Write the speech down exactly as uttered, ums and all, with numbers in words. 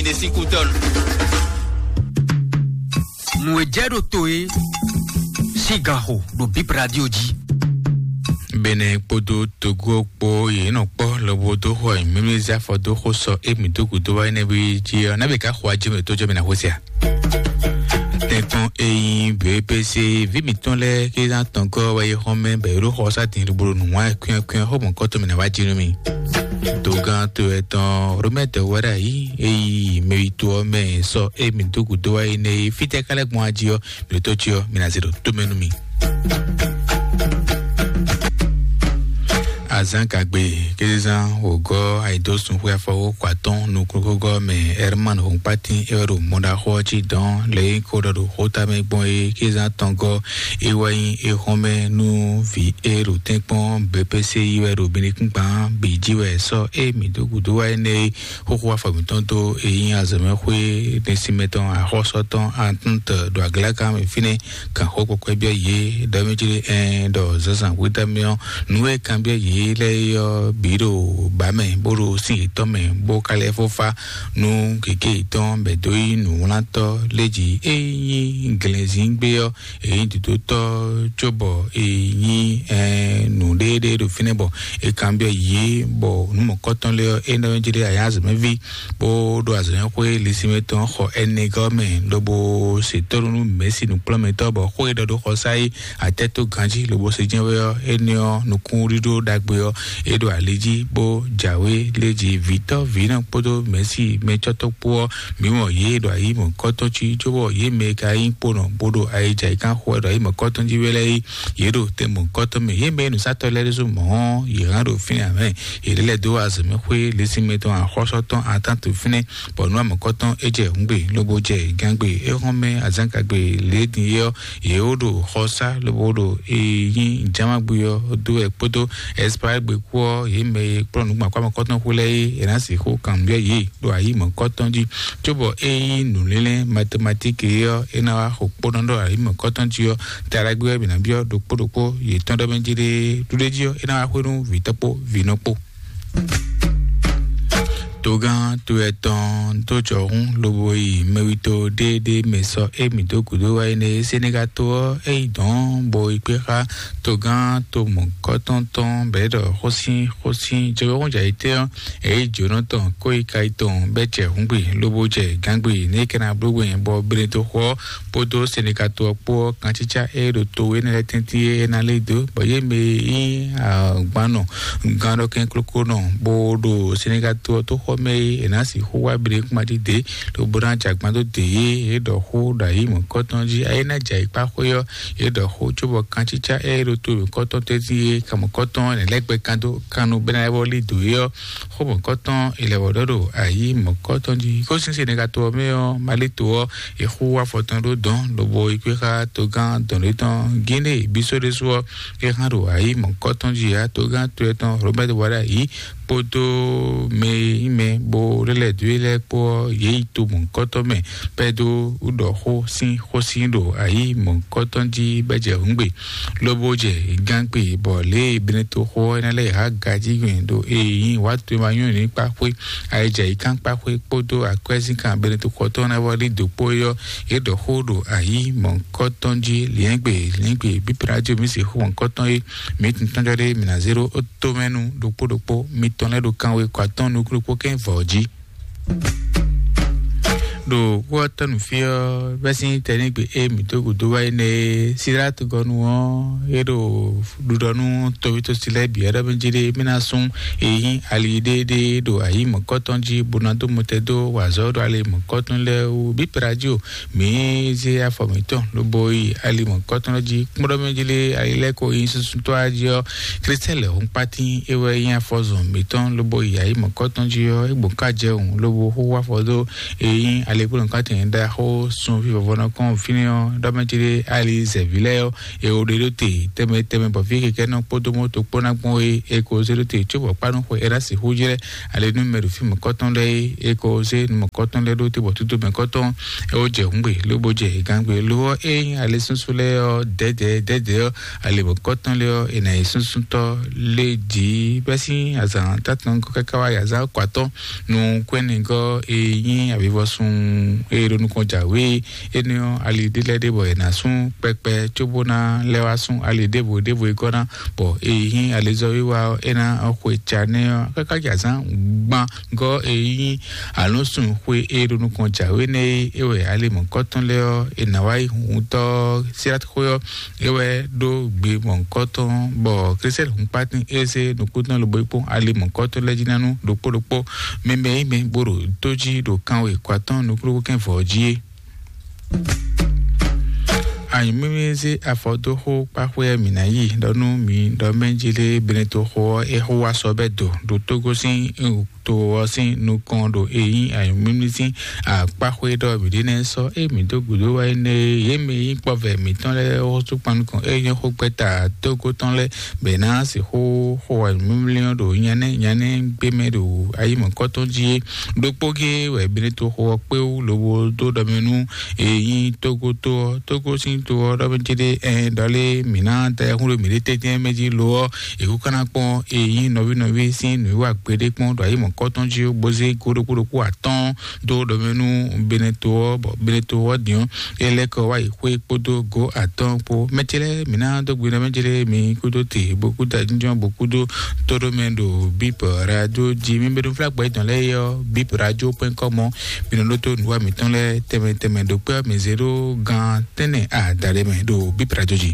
Ine sín kútɔ́. Nǔ e jɛ ɖo to é sín ganxo ɖo Bip Radio jí. Benɛ kpódó Togo kpó yě nɔ kpɔ́ lobo dó xɔ mǐmízí afɔ dó xó sɔ émí dó gǔdo wá énɛ́ jí ɔ́, nábì ká xɔ ajé mɛ tó jɔ mɛ ná xwésí a? Tɛ́nkpɔ́n e nyí B P C ví mǐtɔn lɛ́ɛ ké ná tɔn gɔ́ wɛ é xɔ́n mɛ bɔ é ɖó xɔ sá din lobo ɖo nǔ wá kwɛ́nkwɛ́n xó mɔ̌kɔ́tɔn mɛ ná wá jí nú mì. Dogán to etɔn Romɛtɔ wɛ ɖo ayǐ e yi mɛwito ɔ́ mɛ sɔ émí dó gǔdo wá énɛ́ é, fítɛ́ ká lɛ́ gbɔn ají ɔ́, mǐ ɖo tó cí ɔ́, mi ná zé ɖo tó mɛ nú mì. Azán gagbe kézán wǒgɔ́ ayǐdósun xwe afɔwó kɔ atɔ́ɔ́n nukúnxwégɔ́ mɛ Herman Hɔnkpátín é wɛ ɖo mɔɖaxó ɔ́ cí dɔn lě e ko ɖɔ ɖo xóta mɛ gbɔn é kézán tɔn gɔ́ é wɛ nyí é xɔ́n mɛ nú vǐ e ɖo tɛ́nkpɔ́n B P C yi wɛ ɖo Benekúngban bǐ jí wɛ sɔ́ é mǐ dó gǔdo wá énɛ́ é xóxó afɔ mǐtɔn dó e nyí azɔ̌mɛxwé ɖesinmɛ tɔn axɔ́sɔ tɔn Atúntɔ ɖo aglákan mɛ fínɛ́ kan xó kpɔkpɔ́ byɔ́ yě ɖɔ mí jí ɛn ɖɔ zǎnzǎn hwetɔ́ mɛ ɔ́ nǔ e kanbyɔ́ yě lɛ́ɛ é ɔ́ bǐ ɖo bǎ mɛ bó ɖo sín yětɔn mɛ bó ka lɛ́ fó fá nú gěgé yětɔn bɔ è dó nyí nǔwlántɔ́ léjí e nyí glɛ̌nzíngbe ɔ́, è nyí dǒdótɔ́ cóbɔ è nyí nǔɖéɖé ɖo fínɛ́ bɔ è kanbyɔ́ yě bɔ nǔ mɔ̌kɔtɔn lɛ́ɛ ɔ́ é nɔ jí ɖe ayǎ azɔ̌mɛví bó ɖo azɔ̌mɛxwé lisinmɛ tɔn xɔ ɛnɛ gɔ́ mɛ lobo se tónú nú mɛ̌si nǔkplɔ́nmɛtɔ́ bɔ xó e ɖɔ ɖó xɔsá é atɛ́ tó ganjí lobo se jɛ́n wɛ ɔ́, énɛ́ ɔ́ nukúnɖíɖó ɖagbe ɔ́ é ɖo ali jí bó jǎwe léjí vǐtɔ́ vǐnɔ kpódó mɛ̌si mɛcɔ́tɔ́ kpó ɔ́, mǐ mɔ yě ɖo ayǐ mɔ̌kɔtɔn cí cóbɔ yě mɛ e ka nyí kponɔ bó ɖo ayǐja yi kán xo wɛ ɖo ayǐ mɔ̌kɔtɔn jí wɛ lɛ́ɛ é, yě ɖo tɛn mɔ̌kɔtɔn mɛ. Yě mɛ e nǔsatɔ́ lɛ́ɛ ɖésú mɔ̌ ɔ́, yě hán ɖo fínɛ́ ǎ mɛ. Yě lɛ́ dó azɔ̌mɛxwé lisinmɛ tɔn axɔ́sɔ tɔn atán to fínɛ́, bɔ nǔ amɔ̌kɔtɔn é jɛ hǔngbe lobo jɛ gǎngbe é hɔn mɛ azǎngagbe lě din é ɔ́, yě wó ɖo xɔsá lobo ɖo e nyí jamagbe ɔ́ dó wɛ kpódó Ɛsipayígbe kú ɔ́, yě mɛ e kplɔ́n nǔgbàkpá mɔ̌kɔtɔn xú lɛ́ɛ é, è nǎ sixú kanbyɔ́ yě ɖo ayǐ mɔ̌kɔtɔn jí, cóbɔ ényí nǔlélɛ́ matematiki é ɔ́, é ná wá xo kpónɔ ɖó ayǐ mɔ̌kɔtɔn jí ɔ́, taɖagbe wɛ mǐ ná byɔ́ ɖokpó ɖokpó yětɔn ɖɔ mɛ jí ɖe ɖuɖé jí ɔ́, é ná wá xwé nú vǐtɔ́ kpó vǐnɔ kpó. Togán to etɔn dó jɔhún lobo yi mɛwito ɖéeɖée mɛ sɔ émí dó gǔdo wá énɛ́. Senegal to ɔ́, é yi dɔ̌n bo yi kpé xá togán to mɔ̌kɔtɔn tɔn bɛ̌ ɖɔ xósín xósín jɔwɛ́hún jɛ ayǐtɛ́ ɔ́, é yi jǒnɔ tɔn kó yi ka yi tɔn bɛ́ jɛ hǔngbe lobo jɛ gǎngbe ní é ka ná bló we bɔ Benetoxo ɔ́ kpódó Senegal to ɔ́ kpó ɔ́, kancícá e ɖo to énɛ́ lɛ́ɛ tɛ́ntin é ná lé dó, bɔ yě mɛ e nyí agbanɔ gannɔkɛn kloklo nɔ bó ɖo Senegal to ɔ́ tó xɔ mɛ é, è nǎ sixú wá Benekúnmají dě, lobo ná jɛ agban dó dě yě, yě ɖɔ xó ɖo ayǐ mɔ̌kɔtɔn jí. Ayé ná jɛ ayǐkpá xwé ɔ́, yě ɖɔ xó cóbɔ kancícá e ɖo to mǐkɔtɔn tɛ́ntin é, kan mɔ̌kɔtɔn nɛ̌ lɛ́ gbɛ kan dó kan nu bɛ́ ná lɛ́ vɔ́ lí dǒ é ɔ́, xó mɔ̌kɔtɔn è lɛ́ vɔ́ ɖɔ ɖo ayǐ mɔ̌kɔtɔn jí. Kó sín Senegal to ɔ́ mɛ ɔ́, Mali to ɔ́, è xú afɔtɔn ɖó dɔ̌n lobo yi kpé xá togán dɔ̌nɖé tɔn Guinée Bissau ɖésú ɔ́, é hán ɖo ayǐ mɔ̌kɔtɔn jí ǎ. Togán to etɔn Robert Wada yí kpódó mɛ e nyí mɛ bó lɛ́ lɛ̌ dó e lɛ́ɛ kpó ɔ́, yě yi to mɔ̌kɔtɔn mɛ pɛ́ dó ɖɔ xó sín xósin ɖo ayǐ mɔ̌kɔtɔn jí bɛ́ jɛ hǔngbe lobo jɛ gángbe bɔ lě e Benetoxo ɔ́ ná lɛ́ há gají gbɛn ɖo e nyí wǎ to e ma nyɔ́ ní kpá xwé ayijɛ yi kán kpá xwé kpódó akwɛ́zínkan Benetoxo tɔn ná vɔ lí dǒ kpó é ɔ́, yě ɖɔ xó ɖo ayǐ mɔ̌kɔtɔn jí liɛ́ngbe liɛ́ngbe bíbí radio mi se xó mɔ̌kɔtɔn é, mi tun tɔ́njɔ ɖé mi ná zé ɖó ó tó mɛ nú ɖokpó ɖokpó mitɔn lɛ́ɛ ɖo kanwe kɔ atɔ́ɔ́n nukúnnú kpó kɛ́n vɔ̌ jí. Ɖo kú ɔ́ tɔ́ nǔ fí ɔ́, bɛ́ sín tɛnígbe e mǐ dó gǔdo wá yi nɛ é, Silátu gɔ́ nu ɔ́, é ɖo ɖuɖɔ nú tɔ́wítɔ́ si lɛ́ɛ bǐ ɔ́ ɖɔ mɛ jí ɖé mí ná sún e nyí ali ɖéeɖée ɖo ayǐ mɔ̌kɔtɔn jí bó ná dó mɔtɛn dó wa azɔ̌ ɖo ali mɔ̌kɔtɔn lɛ́ɛ wú. Bíplá jí o, mǐ zé afɔ mǐtɔn lobo yi ali mɔ̌kɔtɔn jí kpɔ́ɖɔmɛ jí lé ali lɛ́ɛ ko nyí susu tɔ́ jí ɔ́, Klístɛ́ lɛ̌ hun kpátín é wɛ nyí afɔzɔn mǐtɔn lobo yi ayǐ mɔ̌kɔtɔn jí ɔ́, é gbɔn ká jɛ wǔn lobo xóxó afɔ dó e nyí ali Ekpɔ́n nɔkɔtɛn ɖaxó sunví vɔvɔnɔ kɔn fínɛ́ ɔ́, ɖɔmɛtí ɖé ali zɛ̌ví lɛ́ɛ ɔ́, e wo ɖe ɖó te tɛmɛ tɛmɛ bɔ fí kɛkɛ nɔ kpódó mɔto kpó ná gbɔn e e ko zé ɖó te có bɔ kpánú xwe e ná sixú jlɛ́ ali nú mɛ ɖo fí mɔ̌kɔtɔn lɛ́ɛ é, e ko zé nú mɔ̌kɔtɔn lɛ́ɛ ɖó te bɔ tútú mɛ̌kɔtɔn e wo jɛ hǔngbe lobo jɛ gangbe lo ɔ́, é nyí ali súnsún lɛ́ɛ ɔ́ dɛ̌dɛ̌ dɛ̌dɛ̌ ɔ́, ali mɔ̌kɔtɔn lɛ́ɛ ɔ́, è nǎ yi súnsúntɔ́ lé jǐ bɛ́ sín azǎn tátɔn káká wá yi azǎn kɔ atɔ́. Nukúnɛgɔ́ e nyí avivɔsun e ɖo nukɔn jǎwe énɛ́ ɔ́, ali ɖé lɛ́ɛ ɖé bɔ è nǎ sún kpɛkpɛ cóbó ná lɛ́ wá sún ali ɖěvo ɖěvo e gɔ́ ná, bɔ e nyí alizɔ́wiwa ɔ́, é ná xwe ca nɛ́ ɔ́ káká jɛ azǎn gban gɔ́ e nyí alɔ̌nsun xwe e ɖo nukɔn jǎwe nɛ́ é, é wɛ ali mɔ̌kɔtɔn lɛ́ɛ ɔ́, è nǎ wá yi huntɔ́ síláxwé ɔ́, é wɛ ɖó gbe mɔ̌hunkɔtɔn, bɔ Klísɛ́lɛ hun kpátín é zé nukúntɔ́ lobo yi kpɔ́n ali mɔ̌hunkɔtɔn lɛ́ɛ jí ná nú ɖokpó ɖokpó. Mɛ mɛ nyí mɛ bó ɖo tó jí ɖo kanwe kɔ atɔ́ɔ́n nukúnnú kɛ́n vɔ̌ jí é. Anyǔmímí zé afɔ dó xó kpáxwé mǐ ná yi ɖɔ nú mi ɖɔ mɛ jí lé Benetoxo ɔ́, é xó wá sɔ bɛ́ do ɖo Tógó sín to ɔ́ sín nukɔn ɖo e nyí anyǔmímí sín akpáxwé ɖɔ mǐ ɖe nɛ́ sɔ́ é mǐ dó gǔdo wá énɛ́ é. Yě mɛ e nyí kpɔ́vɛ mǐtɔn lɛ́ɛ ɔ́ sú kpan nukɔn é nyɔ́ xó gbɛ́ta tógó tɔn lɛ́ɛ bɛ ná sixú xo anyǔmímí ɔ́ ɖo nyanɛ́ nyanɛ́ gbé mɛ ɖo ayǐmɔ̌kɔ́tɔn jí é. Ɖokpó gé wɛ Benetoxo ɔ́ kpé wú lobo dó ɖɔ mɛ nú e nyí Tógó tó ɔ́, Tógó sín to ɔ́ ɖɔ mɛ céɖé ɛn ɖɔ lé mǐ ná da ayihún ɖo mǐɖée tɛ́ntin mɛ jí lo ɔ́, è kú ká ná kpɔ́n e nyí nɔví nɔví sín nǔwiwa gbeɖé kpɔ́n ɖo ayǐmɔ̌kɔ́tɔn jí bó zé go ɖokpó ɖokpó atɔ́ɔ́n dó ɖɔ mɛ nú Beneto ɔ́, bɔ Beneto ɔ́ din ɔ́, é lɛ́ kɔ wá yi xwé kpódó go atɔ́ɔ́n kpó. Mɛ ce lɛ́ɛ mǐ ná dó gbe nɔ mɛ ce lɛ́ɛ mǐ kúdó te bó kúdó ajínjɔ́n bó kúdó tóɖó mɛ ɖo Bip Radio jí. Mi bɛ́ nú flágbɔ yětɔn lɛ́ɛ é ɔ́, Bip Radio point com ɔ́, mi nɔ ɖó tó nǔwa mǐtɔn lɛ́ɛ tɛnmɛ tɛnmɛ ɖo kpɛ́ ɔ́, mǐ zé ɖó gan tɛ́nnɛ adaɖé mɛ ɖo Bip Radio jí.